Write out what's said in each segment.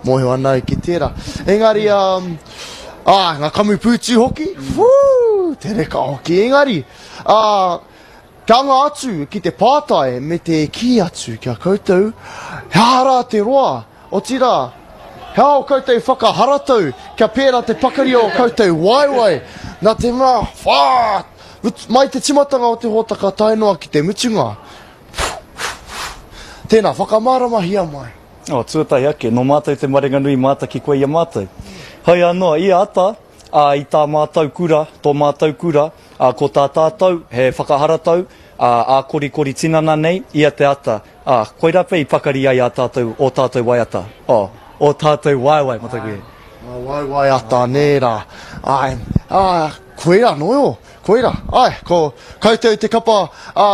Mōhio ana au ki tērā. Engari, um, ā, ngā kamupūtu hoki, whū, te reka hoki. Engari, ā, kia anga atu ki te pātai me te kī atu ki a koutou, he aha rā te roa, otirā, he aha ō koutou whakaharatau kia pērā te pakari o ō koutou waewae, nā te mea, whā, mai te timatanga o te hōtaka tae noa ki te mutunga. Tēnā, whakamāramahia mai. Oh, tuatahi ake, nō mātou te marenganui mātaki koe i a mātou. Hoi anō, ia ata, ā, i tā mātou kura, tō mātou kura, ā, ko tā tātou, he whakaharatau, ā, ā-korikori tinana nei, ia te ata, ā, koirā pea i pakari ai ā tātou, ō tātou waiata, oh, ō tātou waewae, mataku e. Ngā waewae ata, nē rā. Āe, ā, koirā anō, koirā, āe, ko koutou te kapa, ā,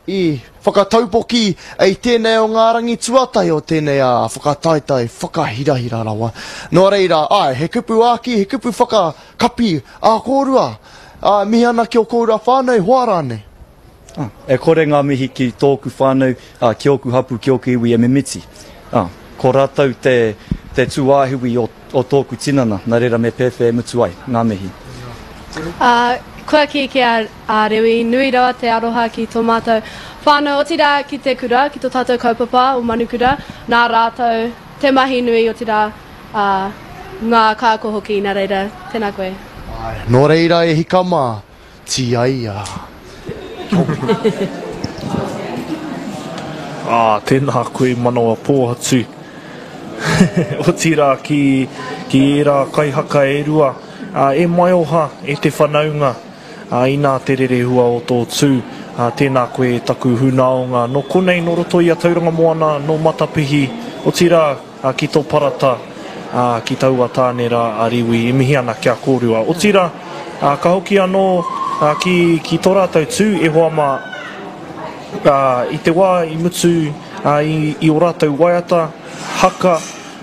i. Whakataupoki i tēnei o ngā rangi tuatahi o tēnei whakataetae whakahirahira rawa. Nō reira, āe, he kupu āki, he kupu whakakapi ā kōrua. Ā, mihi ana ki ō kōrua whānau, hoa rānei. Ā, e kore ngā mihi ki tōku whānau, ā, ki ōku hapū, ki ōku iwi e mimiti. Ā, ko rātou te, te tūāhiwi o, o tōku tinana, nā reira me pēwhea e mutu ai ngā mihi. Ā, kua kī ki a A Rewi, nui rawa te aroha ki tō mātou whānau, otirā ki te kura, ki tō tātou kaupapa o Manukura, nā rātou te mahi nui, otirā, ā, ngā kāko hoki, nā reira, tēnā koe. Āe, nō reira e hika mā, tīaia. Ā, tēnā koe manawa pōhatu. Otirā ki, ki ērā kaihaka e rua, ā, e maioha, e te whanaunga. Ā, inā te rerehua o tō tū, ā, tēnā koe e taku hunaonga. Nō konei, nō roto i a Tauranga Moana, nō Matapihi, otirā, ā, ki tō parata, ā, ki taua tāne rā a Riwi, e mihi ana ki a kōrua. Otirā, ā, ka hoki anō, ā, ki, ki tō rātou tū, e hoa mā, ā, i te wā i mutu, ā, i, i ō rātou waiata, haka,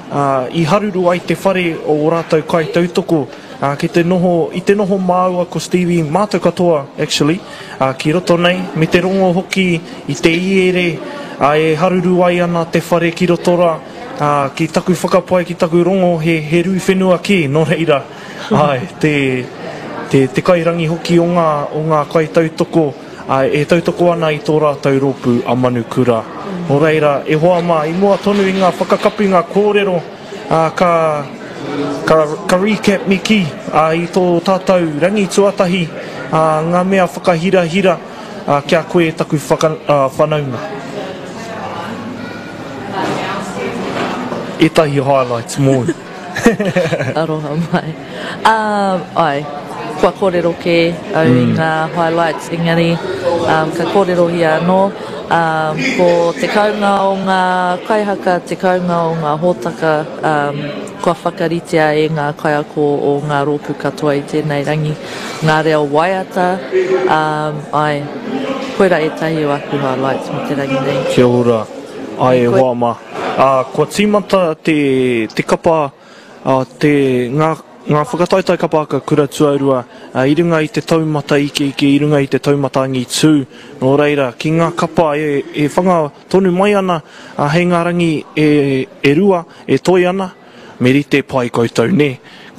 ā, i haruru ai te whare o ō rātou kaitautoko, ā, ki te noho, i te noho māua ko Stevie, mātou katoa, actually, ā, ki roto nei, me te rongo hoki i te iere, ā, e haruru ai ana te whare ki roto rā, ā, ki taku whakapae, ki taku rongo, he, he rū whenua kē, nō reira, āe, te, te, te kairangi hoki o ngā, o ngā kaitautoko, ā, e tautoko ana i tō rātou rōpū a Manukura. Nō reira, e hoa mā, i mua tonu i ngā whakakapinga kōrero, ā, ka, ka, ka recap me kī, ā, i tō tātou rangi tuatahi, ā, ngā mea whakahirahira, ā, ki a koe e taku whaka, ā, whanaunga. Ētahi highlights mōu. Aroha mai. Um, ai, kua kōrero kē au i ngā highlights, engari um, ka kōrerohia anō. Um, ko te kounga o ngā kaihaka, te kounga o ngā hōtaka um, kua whakaritea e ngā kaiako o ngā rōpū katoa i tēnei rangi, ngā reo waiata, um, ai, koira ētahi o aku highlights mō te rangi nei. Kia ora. Ai e hoa mā. Ā, kua tīmata te, te kapa, ā, te, ngā, ngā whakataetae kapa haka kura tuarua, ā, i runga i te taumata ikeike, i runga i te taumata angitū. Nō reira, ki ngā kapa e, e whanga tonu mai ana, ā, hei ngā rangi e, e rua, e toe ana, me rite pai koutou, nē?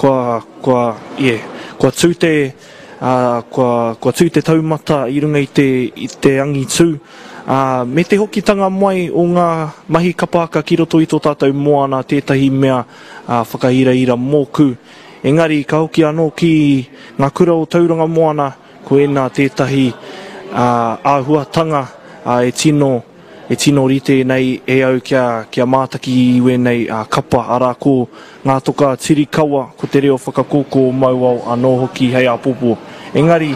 Kua, kua, yeah, kua tū te, ā, kua, kua tū te taumata i runga i te, i te angitū, ā, me te hokitanga mai o ngā mahi kapa haka ki roto i tō tātou moana tētahi mea, ā, whakahirahira mōku. Engari, ka hoki anō ki ngā kura o Tauranga Moana, ko ēnā tētahi, ā, āhuatanga, ā, e tino, E tino rite nei e au kia, kia mātaki i wēnei kapa, arā ko Ngā Toka Tirikawa, ko te reo whakakōkō o Mauao anō hoki hei āpōpō. Engari,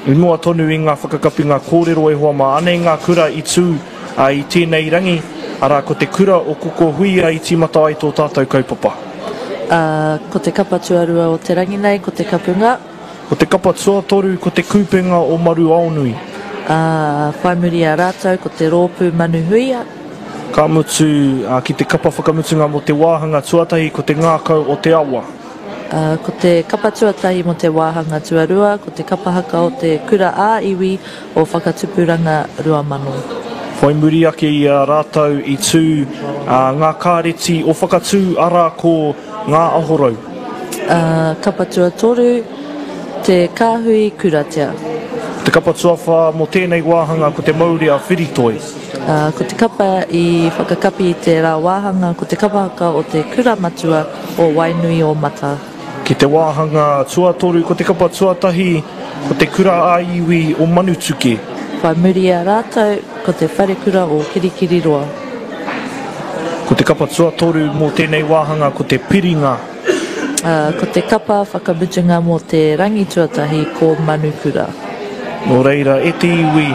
i mua tonu i ngā whakakapinga kōrero e hoa mā, anei ngā kura i tū i tēnei rangi, arā ko te kura o Kokohuia i tīmata ai tō tātou kaupapa. Ā, ko te kapa tuarua o te rangi nei, ko te kapunga. Ko te kapa tuatoru ko Te Kupenga o Maruaonui. Ā, whai muri i a rātou ko te rōpū Manu Huia. Ka mutu, ā, ki te kapa whakamutunga mō te wāhanga tuatahi ko Te Ngākau o Te Awa. Ā, ko te kapa tuatahi mō te wāhanga tuarua ko te kapa haka o te Kura ā-Iwi o Whakatupuranga 2000. Whai muri ake i a rātou i tū ngā kāreti o Whakatū arā ko Ngā Ahorau. Kapa tuatoru, Te Kāhui Kuratea. Te kapa tuawhā mō tēnei wāhanga ko Te Maurea Whiritoi. Ko te kapa i whakakapi i tērā wāhanga ko te kapa haka o te Kura Matua o Wainuiōmata. Ki te wāhanga tuatoru ko te kapa tuatahi ko te Kura ā-Iwi o Manutuke. Whai muri i a rātou ko te Wharekura o Kirikiriroa. Ko te kapa tuatoru mō tēnei wāhanga ko te Piringa. Ko te kapa whakamutunga mō te rangi tuatahi ko Manukura. Nō reira, e te iwi,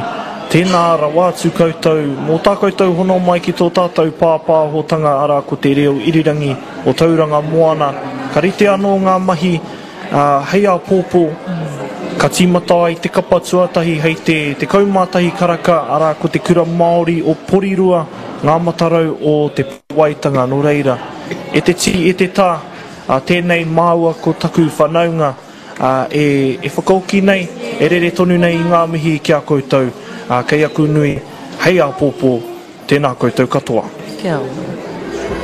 tēnā rawa atu koutou mō tā koutou hono mai ki tō tātou pāpāhotanga arā ko te reo irirangi o Tauranga Moana. Ka rite anō ngā mahi, ā, hei āpōpō, ka tīmata ai te kapa tuatahi hei te 11 karaka, arā ko te Kura Māori o Porirua, ngā matarau o Te Waitanga. Nō reira, e te tī, e te tā, ā, tēnei māua ko taku whanaunga, ā, e, e whakaoki nei, e rere tonu nei i ngā mihi ki a koutou, ā, kei aku nui, hei āpōpō, tēnā koutou katoa. Kia ora.